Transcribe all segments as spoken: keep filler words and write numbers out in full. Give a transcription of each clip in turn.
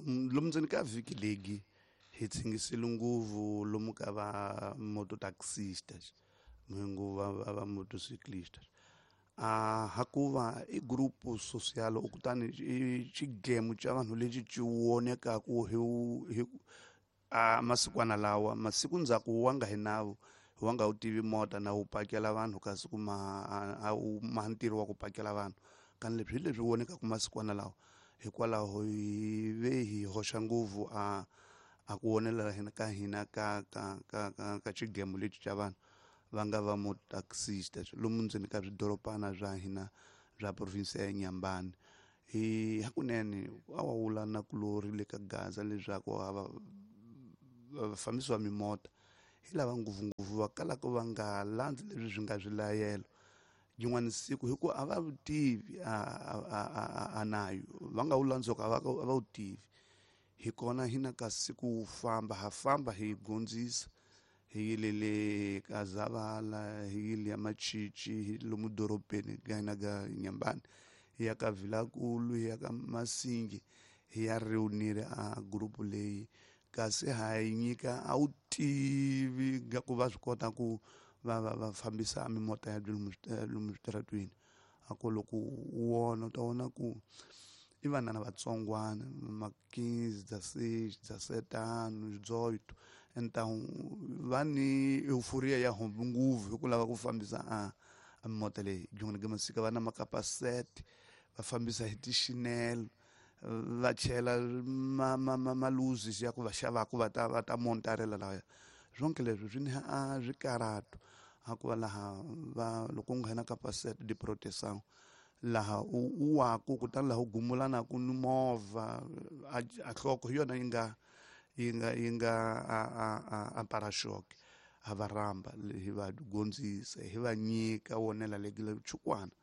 Lomu ndzeni ka vhiki leyi hi tsingisile nguvu lomu ka va mototaxistas nguvu va va motociclistas a hakuva i grupo social kutani i xigemu xa vanhu lexi xi vonekaku hi hi a masikwana lawa masiku ndzhaku wa nga hi nawu wa nga wu tivi mota na wu pakela vanhu kasi ku ma a wu ma ntirho wa ku pakela vanhu kani leswi hi leswi vonekaku masikwana lawa hikwalaho hi ve hi hoxa nguvu a a ku vonelela hina ka hina ka ka ka ka ka xigemu lexi xa vanhu va nga va motaxistas lomu ndzeni ka swidorobana swa hina swa province ya Inhambane hi hakunene a wa wula na kulori le ka Gaza leswaku a va vafambisi va mimota hi lava ngopfungopfu va kalaka va nga landzi leswi swi nga swilayelo yin'wana siku hi ku a va tivi a a a a nayo va nga wu landzoka a va a va wu tivi hi kona hina ka siku wu famba ha famba hi gondzisa hi yile le ka Zavala hi yile ya Machichi hi lomu dorobeni ka hina ka Inhambane hi ya ka Vilankulu hi ya ka Masingi hi ya reunir a group leyi kasi ha yi nyika a wu tivi nga ku va swi kota ku va va va fambisa mimota ya lomu lomu switaratwini a ku loko u vona u ta vona ku i vanana vatsongwana ma quinze dezesseis dezessete anos dezoito então va ni euphoria ya hombi nguvu hi ku lava ku fambisa a a mimota leyi byin'wana ka masika va na makapasete va fambisa hi tixinelo va chela ma ma ma maluzi ya ku va xavaku va ta va ta montarela laya swonke leswi swi ni a swikarhato a ku va laha va loko u nghena ka pasete de proteção laha u u waku kutani laha u gumulanaku ni movha a a nhloko hi yona yi nga yi nga yi nga a a a a para-choque ha va rhamba hi va gondzisa hi va nyika wonela le chukwana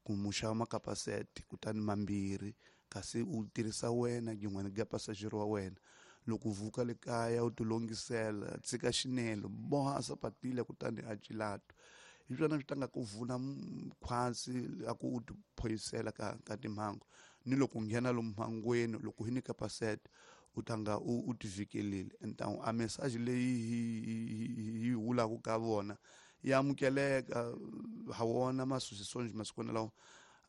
ku mu xava makapasete kutani mambirhi kasi u tirhisa wena yin'wana ga passager wa wena loko u vuka le kaya u tilongisela tshika xinelo boha sapatile kutani a cilato hi swona swi tanga ku vuna khwatsi a ku u tiphoyisela ka ka timhangu ni loko u nghena lomu mhangweni loko hi ni kapasete u tanga u u tivhikelile então a message leyi hi hi wulaku ka vona ya amukeleka ha wona masosisonji masikwana lawa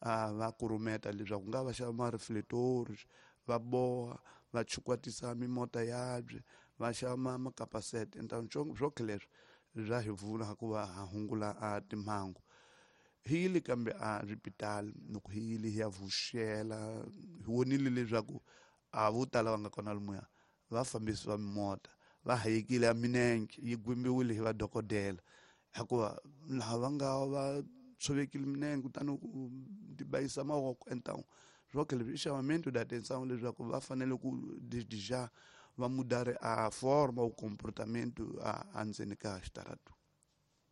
a va kurumeta leswaku nga va xava ma-reflectors va boha va chukwatisa mimota yabye va xava ma makapasete então swonke leswi swa hi pfuna ku va ha hungula a timhangu hi yile kambe a swipitali loko hi yile hi ya vuxela hi vonile leswaku a vo tala va nga kona lomuya vafambisi va mimota va hayekile a minenge yi gwimbiwile hi vadokodela hikuva laha va nga va tshovekile minenge kutani ku tibayisa mavoko então swonke leswi i chamamento da atenção leswaku va fanele ku desde já va mudare a forma o comportamento a endzeni ka xitaratu.